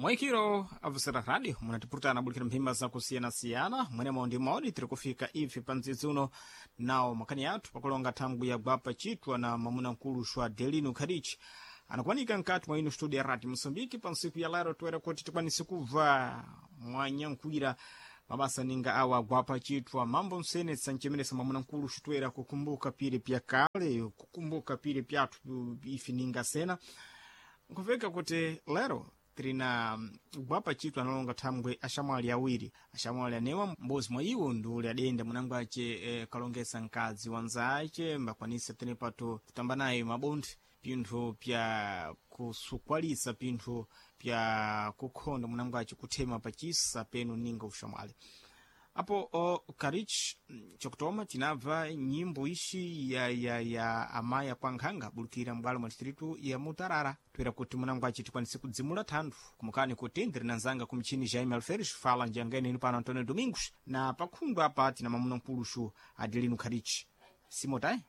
Mwikiro avusera radio munatipurutana bulikira mphimba zakusiyana-siyana mwenemo ndi maoni tiri kufika ife pa mdzidzi uno nawo makhani athu pakulonga thangwi ya gwapa chitwa na mwamuna mkulu xwa Delino Khadichi anakuwanika mkati mwa ino studio ya radio Moçambique pa ntsiku ya lero toera kuti tikwanise kubva mwanyankhwira mabasa ninga awa gwapa chitwa mambo msenetsa nchemeresa mwamuna mkulu xitoera kukumbuka pire pya kale kukumbuka pire pyathu ife ninga sena nkuveka kuti lero tirina gwapa chitwa analonga thangwe axamwali awiri axamwali anewa m'bodzi mwa iwo ndi uli adenda munango ace kalongesa mkadzi wanzace mbakwanisa tenepato kutamba naye mabondi pinthu pya kusukwalisa pinthu pya kukhonda munango ace kuthema pachisa penu ninga uxamwali apo karich chokutoma tinabva nyimbo ishi ya amaya kwa nkhanga bulikira mbwalo mwa distritu ya Mutarara toera kuti munango aci tikwanise kudzimula thanthu kumukani kuti ndiri na nzanga kumchini Jaime Alferes fala njangene inu pano Antonio Domingos na pakhundu apa tina mamuna mkuluxu Adelino Karich simotai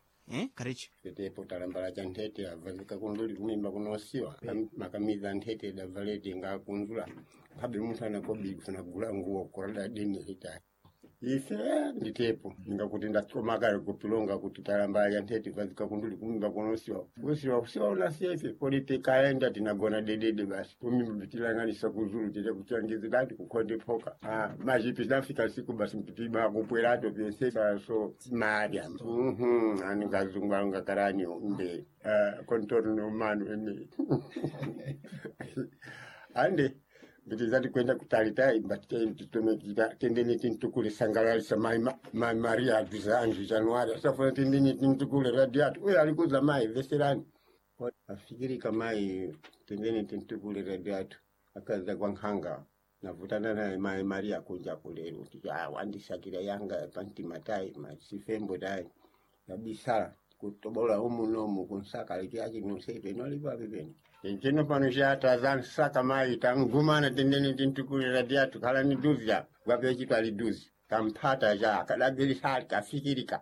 Karich Tetepo talambala cha nthete avalika kunduli kumimba kunosiwa makamiza nthete davalete ngakunzula khabe munthu anakobiri kufuna kugula nguwo kolada deni hita ife nditepo ningakuti ndachomakale kupilonga kuti talambala cha nthete valika kunduli kumimba kunosiwa kusiwa kusiwa unasiya ife kodi tikaenda tinagona dedede basi kumimba tilanganisa kuzulu tite kuchangizirati kukhonde phoka ah, machipi tinafika siku basi mpitiba kupwerato pyese so maria mhm anikazungu angakarani mbe contorno humano ene ande nditizati kwenda kutalitai mbatitutomekita tendeni tintukule sangalalisa mai mai maria aduza anju januari asafuna tendeni tintukule radiato uyo alikuza mai veserani afikirika mai tendeni tintukule radiato akaza kwa nkhanga navutana naye mai maria kunja kulero kuti ah, wandisakira yanga pantimatai masifembo dai yabisala kutobola umu nomu kunsaka liki nonsepe nolipapi pene tenchino pano chata nsaka mai tangumana tendeni tintukule radiato khala ni duzi apa gwapechitwa liduzi kamphata cha kadabilisali kafikirika.